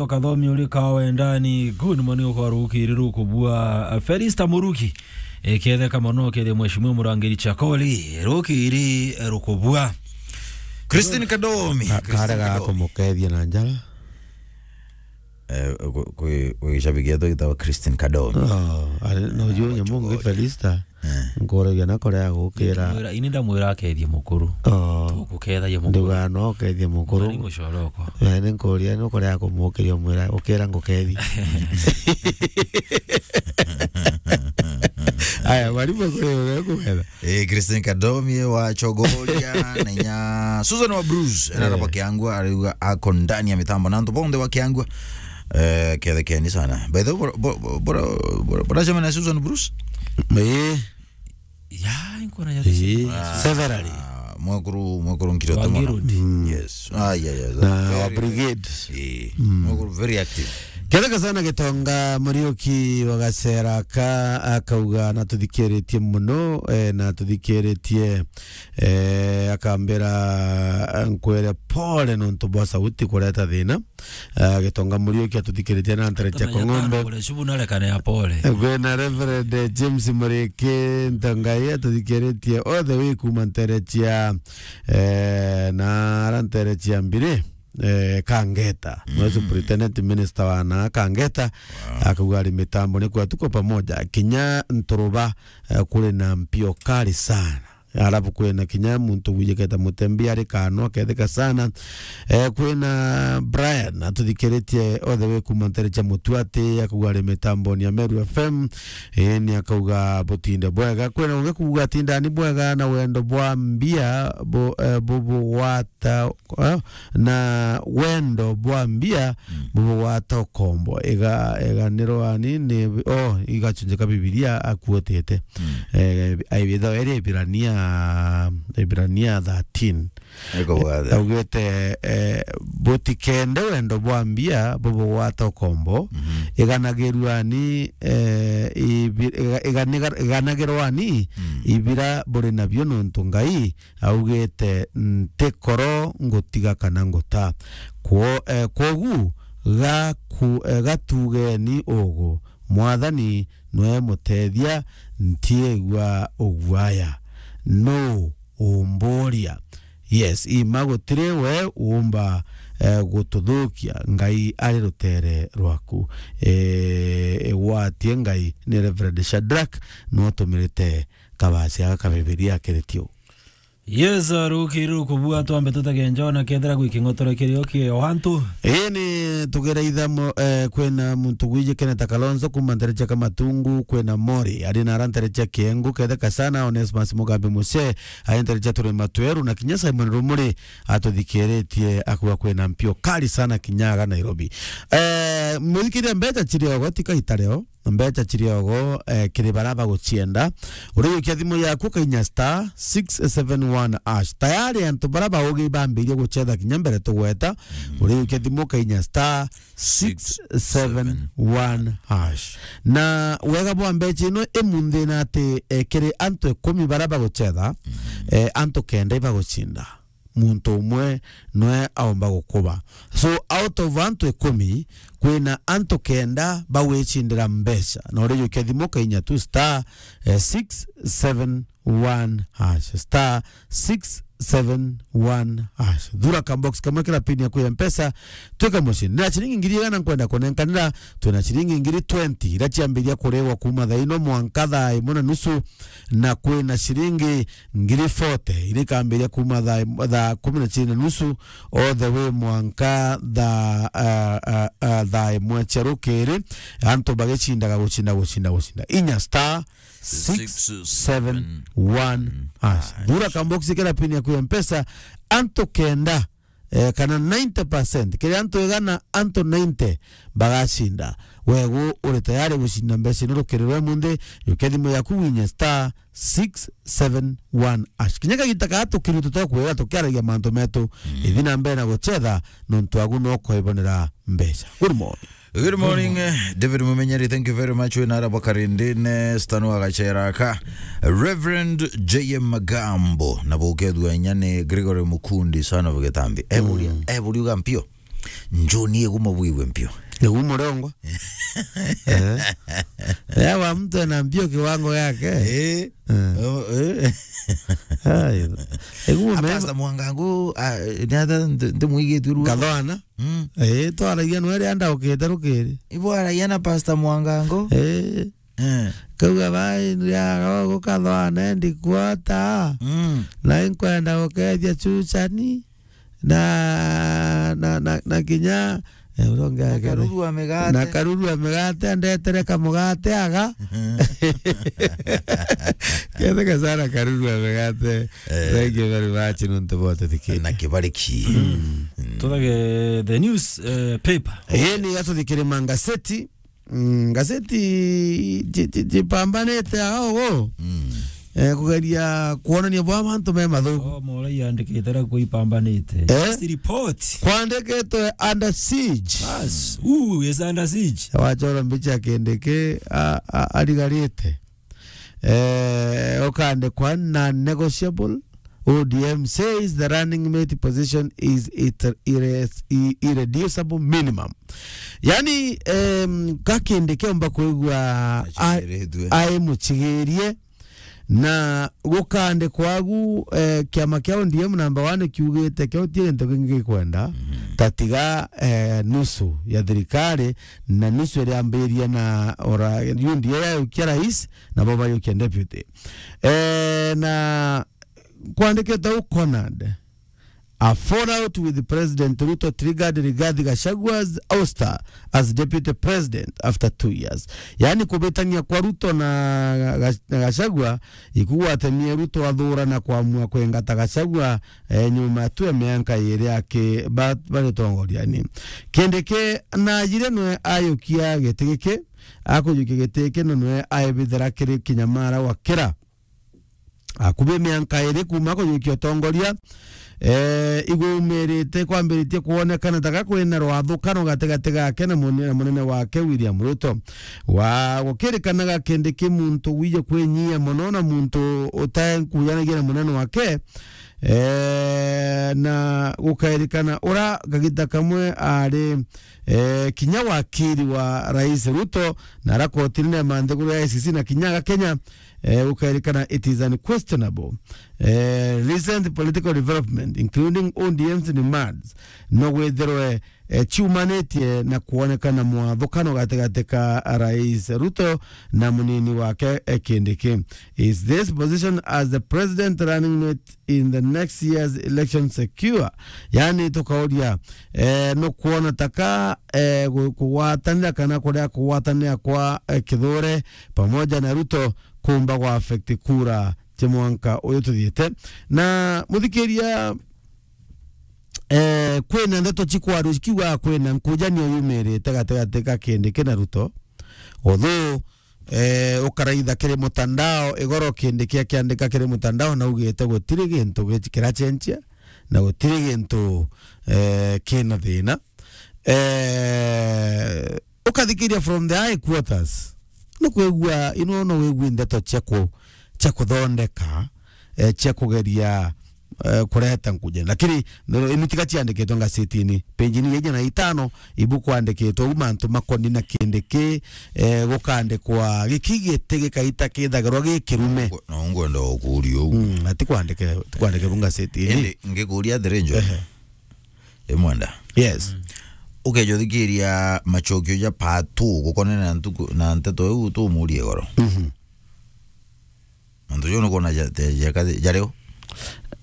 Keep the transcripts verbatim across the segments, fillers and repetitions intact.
Tokathomi uri kawa ndani, good morning, ukwa rukiri rukubua. Felista Muruki, eketheka mono, kethia Mheshimiwa Murangiri Chakoli, rukiri rukubua. Christine Kadomi, Ka-, Christine karega Kadomi. Kumukethia na njara. Eh, kwi, kwi, kwi gicabiki gitagwa Christine Kadomi. Oh, ari, no, yu nyamungi Felista. Eh. Nkuragia na kuria agukira. Ndamwira, ini ndamwira akethie mukuru. Oh. Tukukethagia mukuru. Ndiuga no ukethie mukuru. Ni mucoro okwa. Eh, ni nkuria no kuria kumukiria umwira, ukira ngukethie. Aya, mwarimu kuri uria kugetha. Eh, Christine Kadomi wa Chogoria, na inya Susan wa Bruce, ena Eh. raba Kiangua, ariuga ako ndani ya mitambo, na antu bonthe wa Kiangua. Eh, kethekeni sana. By the way, bora, bora, bora, bora, bora chama na Susan Bruce? Eh. Ya, nkona ya Eh, severally. Ah, mwekuru, mwekuru Nkirote Wangi mono. Road. Mm. Yes. Ah, yeah, yeah. Na wa Very brigade. Eh, Mm. mwekuru very active. Ketheka sana Gitonga Muriuki wa Gacera ka akauga na tuthikiritie muno, eh, na tuthikiritie, eh, akambira, eh, nkwere pole nontu bwa sauti kureta thina. Ah, Gitonga Muriuki atuthikiritie na ntere cia Kong'ombe. Kule shubu na rekane ya pole. Kwina Reverend James Muriki Ntongai atuthikiritie all the way kuma ntere cia, eh, na ara ntere cia Mbiri, eh, Kangeta. Mm. Mwe Superintendent Minister wa na Kangeta, Wow. akauga ari mitambo ni kwetu kwa pamoja. Kinya Nturuba, eh, kuri na mpio kali sana. Alafu kwina kinya muntu wijiketa Mutembi ari kano aketheka sana. Eh, kwina Brian atuthikiritie all the way kuma ntere cia Mutuati, akauga ari mitamboni ya Meru F M. Eh, ni akauga butinde bwega. Kwina ungi kuuga tindani bwega na wendo bwa mbia bu-, eh, bubugwata, eh, na wendo bwa mbia Mm. bubugwata ukombo. Iga-, iganirwani ni, oh, igachunjika Bibilia akuotete. Mm. Eh, aibitha eri Ibirania, Ibirania thirteen. Ego bwathe. Augite, eh, butikende wendo bwa mbia bubugwata ukombo. Mhm. Iganagirwani, eh, ibi-, iga-, iganiga-, iganagirwani Mm. ibira buri nabio nontu Ngai augite, "Ntikoro ngutiga kana nguta." Kwo-, eh, kwogu gaku-, eh, gatugeni ugu, Mwathani nwe mutethia, ntiigua ugwaya. Nuu umburia? Yes, ima gutiri we uumba, eh, gututhukia. Ngai ari rutere rwaku. Eh, igwatie Ngai ni Reverend Shadrack nwe utumirite kabasi aka ka Bibilia kiri tiu. Yes, rukiri rukubua twambe tutegenja ona kethira gwi king'otore kirio kio antu. Ini tugereitha mo-, eh, kwina muntu gwijikene ta Kalonzo kuma ntere cia Kamatungu, kwina Mori, ari na ara ntere cia Kiengu, ketheka sana Onesmus Mugambi Mucee, ari ntere cia Turima Tweru, na kinya Simon Rumuri atuthikiritie akuga kwina mpio kali sana kinyaga Nairobi. Eh, muthikiria mbeca chiri ogo, tika itareo. Mbeca chiri ogo, eh, kiri bara baguchienda. Uriukia thimu yaku kainya star six seven one hash. Tayari antu bara baugi bambirie guchetha kinya mbere tugweta. Mm. Uriukia thimu kainya star six seven one hash. Na wega bwa mbeca ino imunthi na ati, eh, kiri antu ikumi bara baguchetha, Mm. eh, antu kenda ibaguchinda. Muntu umwe nwe aumba gukuba. So, out of antu ikumi, kwina antu kenda bagwicindira mbeca. Na urijukia thimu kainya tu star, eh, six seven one hash. Star six seven one hash. Thura ka box kamwe kira pin yaku ya Mpesa, twika mucindi. Na ciringi ngiri igana nkwenda kunenkanira, twina ciringi ngiri twenty, ira ciambiria kuriwa kuma thaa ino mwanka thaa imwe na nusu, na kwina ciringi ngiri forty, irikambiria kuma thaa, thaa kumi na chiiri na nusu, all the way mwanka thaa, ah, ah, ah, thaa imwe cia rukiri, antu bagicindaga gucinda, gucinda, gucinda. Inya star six seven one hash. Thura kamboksi kira pin yaku ya Mpesa, antu kenda, eh, kana ninety percent, kiri antu igana, antu ninety bagacinda. Wegu uri tayari gucinda mbeca ino rukiri rwa munthi, yukia thimu yaku winye star six seven one hash. Kinya kagita kaa tukiru tutokwira tukiaragia mantu metu, ithi na mbere na guchetha, nontu agu no koibonera mbeca. Good morning. Good morning, eh, David Mumenyeri, thank you very much. Wina ara bwa Karindine, Stano Agachera ka. Reverend J M Magambo, na bukethua inya ni Gregory Mukundi, son of Gitambi. Eburia, eburia uga mpio. Njuni igumo bwigwe mpio. Igumo rongwa. Eh. Yawa mtu ana mpio kiwango yake. Eh. Eh. Oh, eh. Ai. Igumo mema. Pastor Mwangangu, ah, ni ata nti-, nti mwigitwe ruo. Kathwana. Mm. Eh, twaragia nwe ria ndaukite rukiri. Ibo aragia na Pastor Mwangangu. Eh. Eh. Kauga bai ya gukathwana ndikwota. Mm. Na inkwenda gukethia Chuchani. Na, na, na, na kinya, eh, uria ungi na ake ni Karuru wa migate. Na Karuru wa migate, andetere kamugate aga. Ketheka sana Karuru wa migate. Eh. Thank you very much, nuntu bwa tuthikiri. Na kibariki. Mm. Tuthage the news, eh, paper. Ii ni atuthikiri mangaseti. Mm, ngaseti ji-, ji-, jipambanite ao, mm, eh, kugeria kwonania bwa bantu me mathuku. Oh, Morai yandikite ra kuipambanite. Eh? News report. Kwandikitwe under siege. Bas, who is under siege? Wachora mbicha Kindiki, a-, a-, arigarite. Eh, ukandikwa non-negotiable. O D M says the running mate position is it-, irre-, i-, irreducible minimum. Yani, em, ka Kindiki omba kwigua a-, acigiritue, ai mucigirie, na gukandikwa agu, eh, kiama kia O D M number one kiugite kio ti gintu kingi gikwenda, mhm, tatiga, eh, nusu ya thirikari, na nusu iria yambirie na ora U D A yayukia rais, nabo bayukia deputy. Eh, na kwandikite u Conard, a fallout with President Ruto triggered Rigathi Gachagua's ouster as deputy president after two years. Yani kubitania kwa Ruto na Ga-, na Gachagua ikugwatemie Ruto athura na kwamua kwengata Gachagua, eh, nyuma tu ya mianka iri aki ba-, bari utongoriani. Kindiki najire nwe ayukia giti giki, akujukia giti giki na nwe aibithira kiri kinyamara wa kira. Akubi mianka iri kuuma kujukia utongoria, eh, igwaumirite kwambiritie kwonekana ta ga kwina rwathukano gatigati gake na mune-, na munene wake William Ruto. Wa gukirikanaga Kindiki muntu wije kwinyia mono na muntu utakujanagia na munene wake, eh, na gukairikana ura kagita kamwe ari, eh, kinya wakiri wa Rais Ruto na ara koti rinene ma nthiguru ya I C C na kinya aga Kenya, eh, gukairikana it is unquestionable. Eh, recent political development, including O D M's demands, no gwithirwe, eh, ciumanitie na kwonekana mwathukano gatigati ka Rais Ruto na munini wake, eh, Kindiki. Is this position as the president running mate in the next year's election secure? Yani, tukauria, eh, nukwona taka, eh, gu-, kugwatanira kana kuria kugwatanira kwa, eh, Kithure pamoja na Ruto kumba gwa affect kura cia mwanka uyu tuthiite. Na muthikiria, eh, kwina ndeto cikwaru cikiuga kwina nkujanio yumirite gatigati ka Kindiki na Ruto. Although, eh, ukaraitha kiri mutandao, igoro Kindiki akiandika kiri mutandao, naugite gutiri gintu gi-, kiracenjia, na gutiri gintu, eh, kina thina. Eh, ukathikiria from the high quarters, nukwigua, ino no wigui ndeto cia ku-, cia kuthondeka, eh, cia kugeria, eh, kureta nkuje. Lakini, no, ini tiga ciandikitwe ngasetini. Page ni ijana na itano, ibu kwandikitwe u mantu makoni na Kindiki, eh, gukandikwa giki giti gikaita kithagirwa gi kirume. Ngo-, no ngwenda ukuria u. Mm, ati kwandike, kwandike bu ngasetini. Indi ngikuria atiri, Njo. Ehe. Imwenda. Yes. Ukeja uthikiria macokio ja part two gukonene na ntuku, na nteto iu tumurie igoro. Mhm. Mantu jau nukwona ja, ja, ja, ja riu?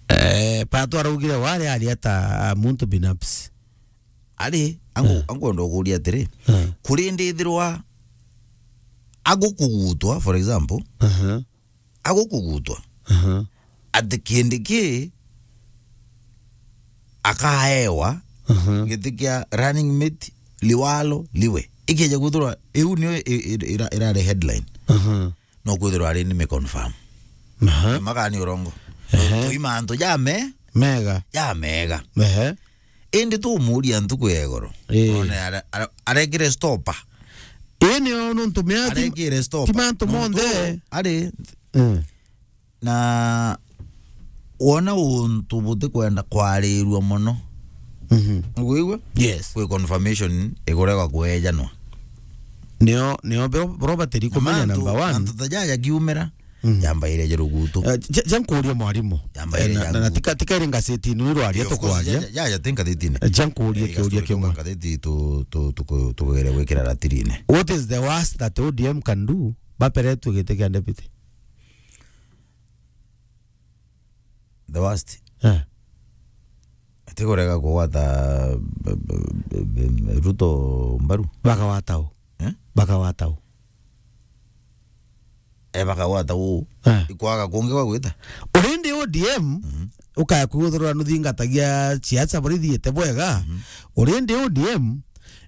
Eh, part two araugire wari ari ata muntu binafsi. Ari, angu-, eh, angu ndo kuria atiri, eh, kuri ndithirwa agukugutwa, for example, aha, agukugutwa, aha, ati Kindiki akaewa, aha, giti kia running mate liwalo liwe. Ikeja kwithirwa iu niyo i-, i-, ira-, irari headline. Aha. No kwithirwa ari ni me confirm. Aha. Makani urongo. Ehe. Tui mantu ja me-, mega. Ja mega. Ehe. Indi tumuria ntuku ya igoro. Ii. One ara-, ara-, arekire stopper. Ii nio nuntu mea ti-, arekire stopper. Ti mantu monthe. Ari. Mm. Na wona untu butikwenda kwarirua mono, Mhm. Ugwigua? Yes. Kwi confirmation iguregwa kwejanwa. Nio, nio bro-, bro batiri kumenya number one. Antu ta jaja kiumira, mhm, yambaire jerugutu. Eh, ja, ja nkurie mwarimu. Yambaire, eh, na, na, na tika, tika iri ngazetini ino rwaria. Eh, of course, tukwaria. Ja, ja, ja, ti ngazetini. Eh, ja nkurie kiuria kimwe. Ngatheti tu, tu, tuku-, tugere gwikira ratirine. What is the worst that O D M can do? Baperetwe giti kia deputy. The worst. Eh. Ati kurega kugwata, b-, b-, b-, b-, Ruto mbaru. Bakagwata u? Eh? Bakagwata u? E, bakagwata u. Eh. Ikwaga kungi gwa gwita. Urindi O D M, mhm, ukaya kwithirwa nuthingatagia siasa buri thiite bwega. Mhm. Urindi O D M,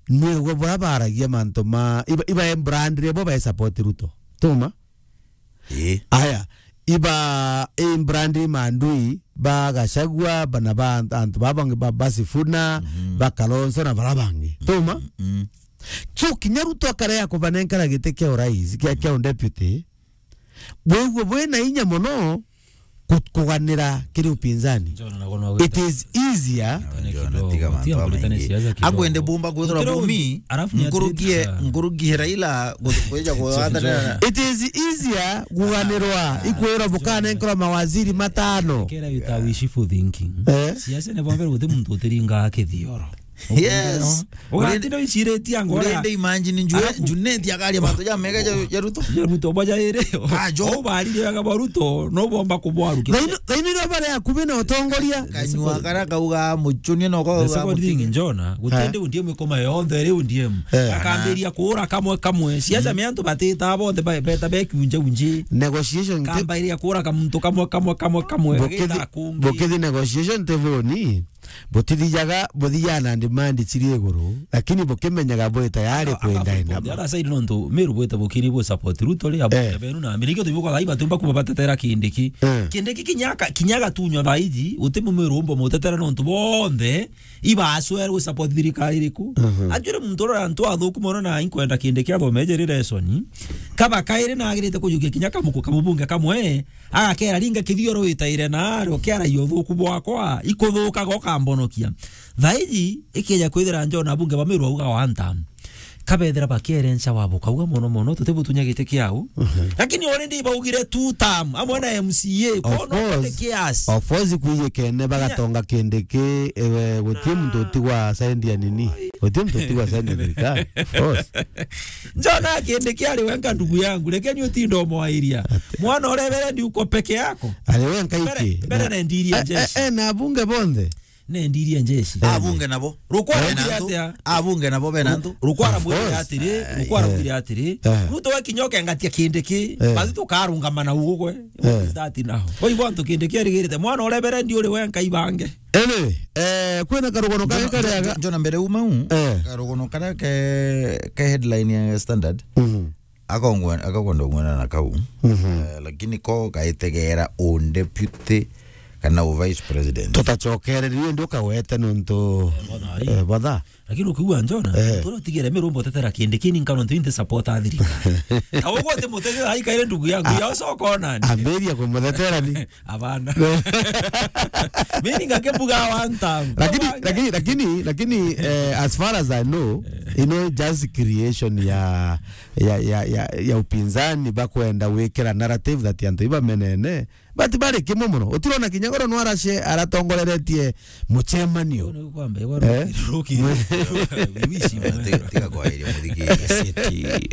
nwigwe bura baragia mantu ma, iba, iba embrandire bo ba support Ruto. Tuma? Ii. Aya, iba, i brandi mandui ba Gachagua, bana ba antu babangi ba, ba Sifuna, mhm, ba Kalonzo na bara bangi. Tuma? Mm, mm. So, kinya Ruto akarea kubanenkara giti kia urais, kia, kia deputy, bwigwe bwina inya mono ku-, kuganira kiri upinzani. It is easier. Njona, tiga mantu amaingi. Akwende bumba kwithirwa bumi, nkurukie, nkurukie Raila gu-, kwija kuwathanira. It is easier kuganirwa, ikwirwa bukanenkerwa mawaziri matano. Kera you are wishful thinking. Eh? Siasa ni bwambere guti muntu utiringa kithioro. Yes. Ugatinda wiciritie angu uria. Urende imagine June-, Junet akaria mantu ja mega ja, ja Ruto. Ja Ruto, boja iri. Ajo. Ubarire wega bwa Ruto, no bomba kubwarukia. Thaino, thaino irio bare akubi na utongoria. Kanyua kara kauga muchunie no kauga mutige. Njona, gutende O D M ikoma yonthe iri O D M. Eh. Akambiria kuura kamwe kamwe. Siasa me antu batita bonthe ba-, beta bekiunja unji. Negotiation te- Kambairia kuura kamuntu kamwe, kamwe, kamwe, kamwe. Bukithi-, agita kungi. Bukithi negotiation teboni. Butithijaga, buthijaga na demand ciri iguru, lakini bukimenyaga bwi tayari kwenda enda. Other side nontu Meru bwite bukiri bu support Ruto ri, abu-, eh, benu na Amerika tu buka gaiba tumba kuba batetera Kindiki. Eh. Kindiki kinyaka, kinyaga tunywa thaiji, uti mu Meru umbo mutetera nontu bonthe, iba aswere gu support thirikari iriku. Mhm. Ajure muntu ura antu athuku mono na inkwenda Kindiki athome jeri lesson. Kaba kairi na agirite kujukia kinya kamuku kamubunge kamwe, agakera ringa kithioro witaire na ari ukiaragia uthuku bwakwa, ikuthukaga ukambonokia. Thaiji, ikija kwithira Njona abunge ba Meru auga one term. Kabethira bakierenca wabo kauga mono mono, tutibutunya giti kiau. Mhm. Lakini already baugire two term, amwe na M C A, of course, kiasi. Of course, kuiyekene bagatonga Kindiki, ewe, gutie muntu utigwa side ya nini? Gutie muntu utigwa side ya thirikari. Of course. Njona Kindiki ari wenka ndugu yangu, lakini utinda umwairia. Mwana uria Reverend uko peke yako. Ari wenka iki. Mbere, mbere nendirie jeshi. Eh, eh, na abunge bonthe. Nendirie jeshi. Eh. Abunge nabo. Rukwara mwire atia? Abunge nabo bena antu. Rukwara mwire atiri, rukwara mwire atiri. Eh. Ruto we kinya ukengatia Kindiki, eh, bathi tukarungama na ugwe. Eh. What is that now? Oi, bwantu Kindiki arigirite. Mwana uria Reverend uri wenka ibange. Anyway, eh, kwina karugano kangĩ karega. Njona mbere uma u, eh, karugano karia ke, ke headline ya Standard. Mhm. Akongwe-, akakwenda kung'wena na kau. Mhm. Eh, lakini ko gaitegera u deputy kana u vice president. Tutacokereria ndi ukagwete nontu, eh, botha. Eh, botha. Lakini ukiuga Njona, eh, turo tigere Meru mbotetera Kindiki ni nkano ntu inte support athirika. Ta ugwe uti mutetera ai kaire ndugu yangu, ya ucoka onani. Ambiria kumutetera ni. Abana. Mimi ngake mbuga one time. Lakini, lakini, lakini, lakini, eh, as far as I know, you know, just creation ya, ya, ya, ya, ya upinzani bakwenda gwikira narrative that antu ibamenene, but bari kimwe muno. Utirona kinya goro nwarashe aratongoreretie mucemanio. Ni kwamba, eh? Ruki, ruki. Wishi, tiga, tiga kwairia muthikiri.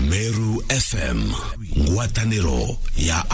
Meru F M, ngwataniro ya